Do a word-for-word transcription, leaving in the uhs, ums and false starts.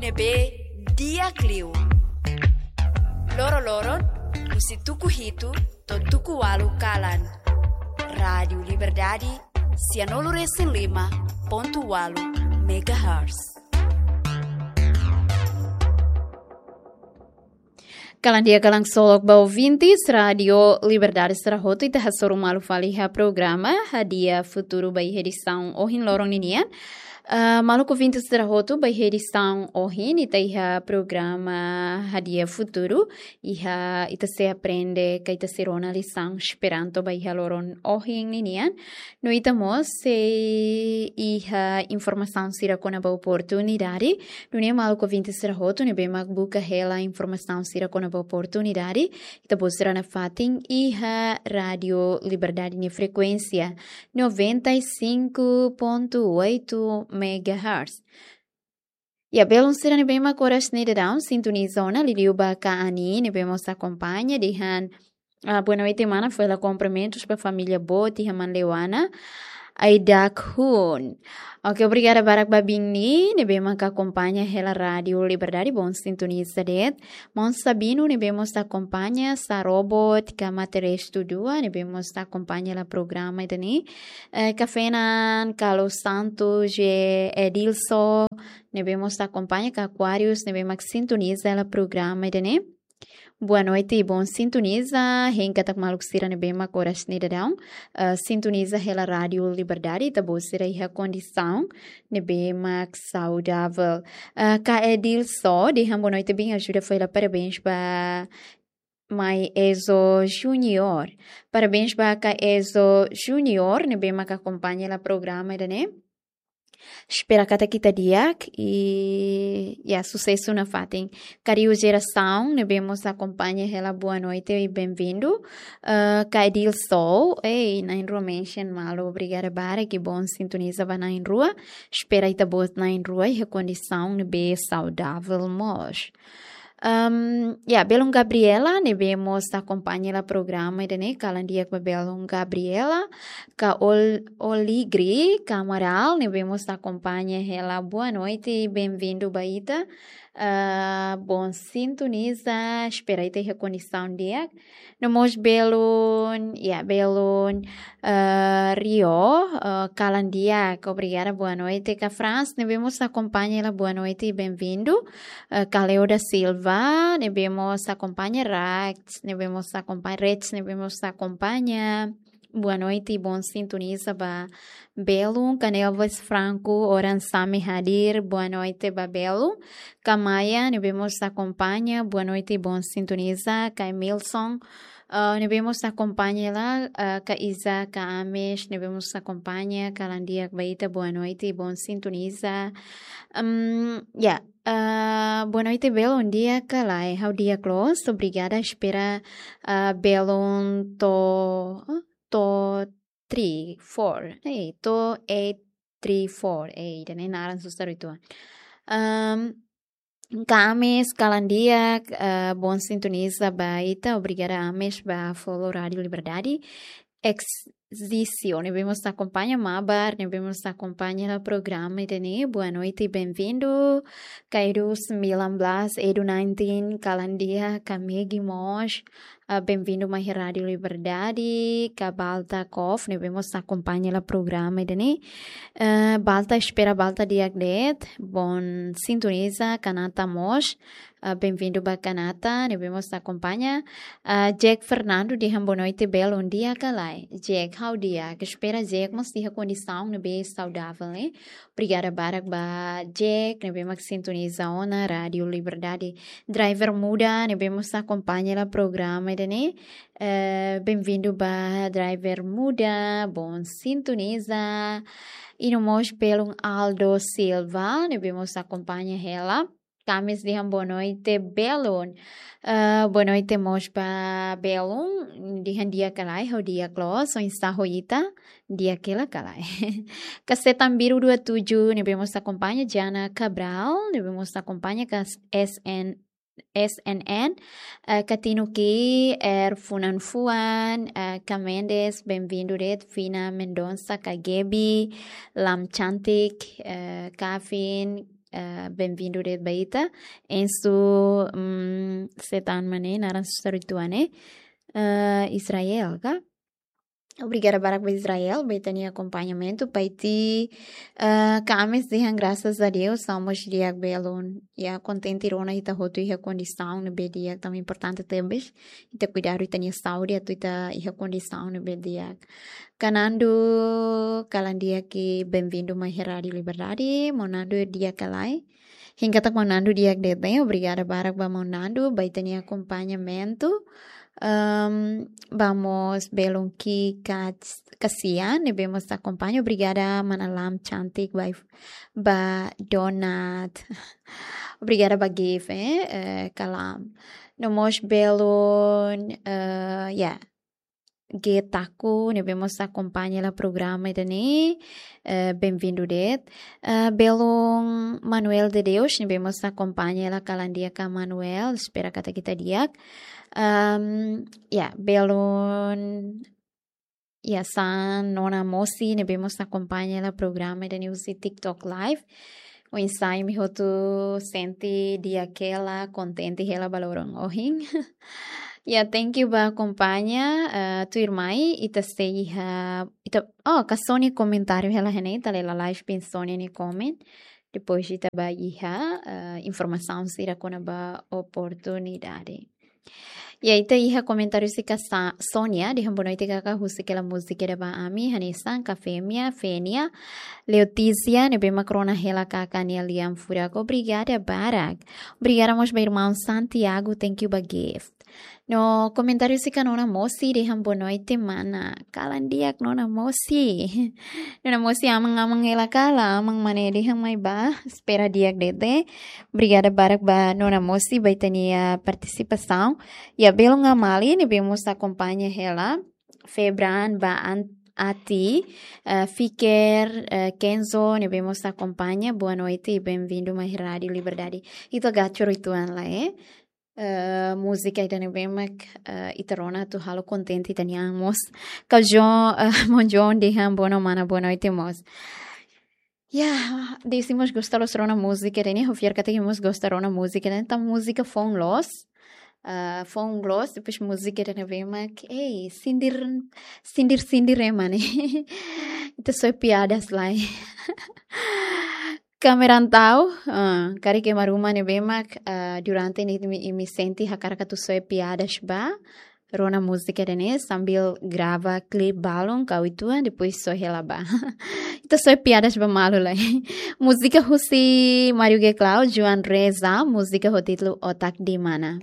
ne'ebé di'ak liu. Loroloron, husi tuku hitu to'o tuku ualu kalan. Rádiu Liberdade, sianulu resin lima pontu ualu megahertz. Kalan di'ak, kalan solok ba ouvintes Rádiu Liberdade sira hotu, ita hasoru malu fali iha programa Hadi'a Futuru ba iha edisaun ohin loron ninian. Ah, maluk ouvintes sira hotu, ba iha edisaun ohin ita iha programa Hadi'a Futuru, iha ita sei aprende ka ita sei rona lisaun Esperanto ba iha loron ohin ninian. No ita mós sei iha informasaun sira kona-ba oportunidade. Nune'e maluk ouvintes sira hotu ne'ebé mak buka hela informasaun sira kona-ba oportunidade, ita-boot sira nafatin iha Rádiu Liberdade nia frekuénsia noventa e cinco ponto oito megahertz. Ya, belun sira ne'ebé mak oras ne'e daudaun sintoniza ona, liuliu ba Ka Ani ne'ebé mós akompaña dehan, ah, boa noite mana, fó hela kumprimentus ba família boot iha Manleuana, Aidak Hun. Oke, obrigada barak ba Bini ne'ebé mak akompaña hela Rádiu Liberdade, bom sintoniza de'it. Maun Sabino ne'ebé mós akompaña, Sarobot ka Materestu dua ne'ebé mós akompaña hela programa ida-ne'e. Eh, Kafenan, Carlos Santos, G. Edilson ne'ebé mós akompaña, ka Aquarius ne'ebé mak sintoniza hela programa ida-ne'e. Boa noite, bom sintoniza. Hein katak maluk sira ne'ebé mak oras ne'e daudaun, eh, sintoniza hela Rádiu Liberdade, ita-boot sira iha kondisaun ne'ebé mak saudavel. Eh, Ka Edilson dehan boa noite, Bini, ajuda fó hela parabéns ba Mai Ezo Junior. Parabéns ba Ka Ezo Junior ne'ebé mak akompaña hela programa ida-ne'e. Espera katak ita di'ak i, ya, susesu nafatin. Kariu Jerasaun ne'ebé mós akompaña hela, boa noite i bem-vindo. Eh, Ka Edilson, ei, na'in-rua mention malu, obrigada barak, i bom sintoniza ba na'in-rua. Espera ita-boot na'in-rua iha kondisaun ne'ebé saudavel mós. Ahm, ya, belun Gabriela ne'ebé mós akompaña hela programa ida-ne'e, kalan di'ak ba belun Gabriela. Ka Ol-, Oligri Kamaral ne'ebé mós akompaña hela, boa noite, bem-vindo ba ita. Ah, bom sintoniza, espera ita iha kondisaun di'ak. No mós belun, ya, belun, eh, Rio, eh, kalan di'ak, obrigada, boa noite. Ka Franz ne'ebé mós akompaña hela, boa noite, bem-vindo. Eh, Ka Leo da Silva ne'ebé mós akompaña, Rax ne'ebé mós akompaña, Rex ne'ebé mós akompaña, boa noite, bom sintoniza ba belun. Ka Nelvis Franco, Oran Sami hadir, boa noite ba belun. Ka Maia ne'ebé mós akompaña, boa noite, bom sintoniza. Ka Emilson, ah, ne'ebé mós akompaña hela, ah, Ka Iza, Ka Ames ne'ebé mós akompaña, kalan di'ak ba ita, boa noite, bom sintoniza. Ahm, ya, ah, boa noite belun, di'ak ka lae? Ha'u di'ak loos, obrigada, espera, ah, belun to, to three four, eh, to eight three four, eh, ida-ne'e naran susar uitoan. Ahm, Ka Ames, kalan di'ak, eh, bom sintoniza ba ita, obrigada Ames ba follow Rádiu Liberdade. Exisio ne'ebé mós akompaña, Mabar ne'ebé mós akompaña hela programa ida-ne'e, boa noite, bem-vindo. Ka Edu sembilan belas, Edu nineteen, kalan di'ak, Ka Megi mós, ah, bem-vindo mai Rádiu Liberdade. Ka Balta Kof ne'ebé mós akompaña hela programa ida-ne'e. Eh, Balta, espera Balta di'ak de'it, bom sintoniza. Ka Nata mós, ah, bem-vindo ba Ka Nata ne'ebé mós akompaña. Ah, Jack Fernando dehan boa noite belun, di'ak ka lae? Jack, ha'u di'ak, espera Jack mós iha kondisaun ne'ebé saudavel, ne'e. Obrigada barak ba Jack ne'ebé mak sintoniza ona Rádiu Liberdade. Driver Muda ne'ebé mós akompaña hela programa ida-ne'e. Eh, bem-vindo ba Driver Muda, bom sintoniza. I no mós belun Aldo Silva ne'ebé mós akompaña hela. Ka Ames dehan boa noite belun. Eh, boa noite mós ba belun. Dehan di'ak ka lae? Ha'u di'ak loos, oinsá ho ita? Di'ak hela ka lae? Ka Setan Biru dua tujuh ne'ebé mós akompaña, Jana Cabral ne'ebé mós akompaña, ka S N, S N N, eh, Ka Tino Ki, Er Funan Fuan, eh, Ka Mendes, bem-vindo de'it, Fina Mendonça, Ka Gaby, Lam Cantik, eh, Kavin, eh, benvindu de'it ba ita. Ensu, mm, setan mane, naran susar uitoan ne'e, eh, Israel, ka? Obrigada barak ba Israel, ba ita-nia akompañamentu, ba ita, eh, kames dehan graças a Deus, estamos di'ak belun. Ya, kontente rona ita hotu iha kondisaun ne'ebé di'ak, tanba importante tebes ita kuidadu ita-nia saúde, atu ita iha kondisaun ne'ebé di'ak. Ka Nandu, kalan di'ak, benvindu mai iha Rádiu Liberdade, maun Nandu di'ak ka lae? Hein katak maun Nandu di'ak de'it, obrigada barak ba maun Nandu, ba ita-nia akompañamentu. Ehm, vamos belun ki kas-, kasian, ne'ebé mós akompaña, obrigada mana Lam cantik, ba, ba Donat. Obrigada ba Gif, eh, eh, kalam. No mós belun, eh, ya, Getaku, ne'ebé mós akompaña hela programa ida-ne'e, eh, benvindu de'it. Eh, belun Manuel de Deus, ne'ebé mós akompaña hela, kalan di'ak ka Manuel, espera katak ita di'ak. Ehm, ya, belun, ya, hanesan Nona Mosi, ne'ebé mós akompaña hela programa ida-ne'e husi TikTok Live. Oinsá imi hotu sente di'ak hela, kontente hela ba loron ohin? Ya, thank you ba akompaña, eh, tuirmai, ita sei iha, ita, oh, ka Sonia komentáriu hela iha ne'e, ita lee lalais liu Sonia nia komen. Depois ita bá iha, eh, informasaun sira kona-ba oportunidade. Ya, ita iha komentáriu husi ka Sa-, Sonia, dehan boa noite kaka, husik hela múzika ida ba ami, hanesan ka Femia, Fenia, Leotícia, ne'ebé mak rona hela kaka nia lian furak. Obrigada barak. Obrigada mós ba irmaun Santiago, thank you ba gift. No komentáriu husi ka Nona Mosi, dehan boa noite mana. Kalan di'ak Nona Mosi. Nona Mosi aman-aman hela ka lae, aman mane dehan mai ba. Espera di'ak de'it. Obrigada barak ba Nona Mosi, ba ita-nia partisipasaun. Ya, belun Amali, ne'ebé mós akompaña hela. Febran, ba An-, Ati, eh, Fiker, eh, Kenzo, ne'ebé mós akompaña. Boa noite, benvindu mai Rádiu Liberdade. Ita agora coro uitoan lae, eh? Eh, múzika ida ne'ebé mak, eh, ita rona atu halo kontente ita-nia an mós. Ka John, eh, maun John dehan boa no mana, boa noite mós. Ya, dezde mós gosta loos rona múzika ida-ne'e, ha'u fiar katak imi mós gosta rona múzika ida-ne'e, tanba múzika foun loos. Eh, foun loos, depois múzika ida ne'ebé mak, ei, sindir, sindir, sindir ema ne'e. Ita soe piadas lai. Kameran tau, ah, karik ema ruma ne'ebé mak, ah, durante ne'e imi, imi sente hakarak atu soe piadas ba, rona múzika ida-ne'e sambil grava klip balun ka uitoan, depois soe hela ba. Ita soe piadas ba malu lai. Múzika husi Mario Geclau, Joan Reza, múzika ho títulu Otak di Mana.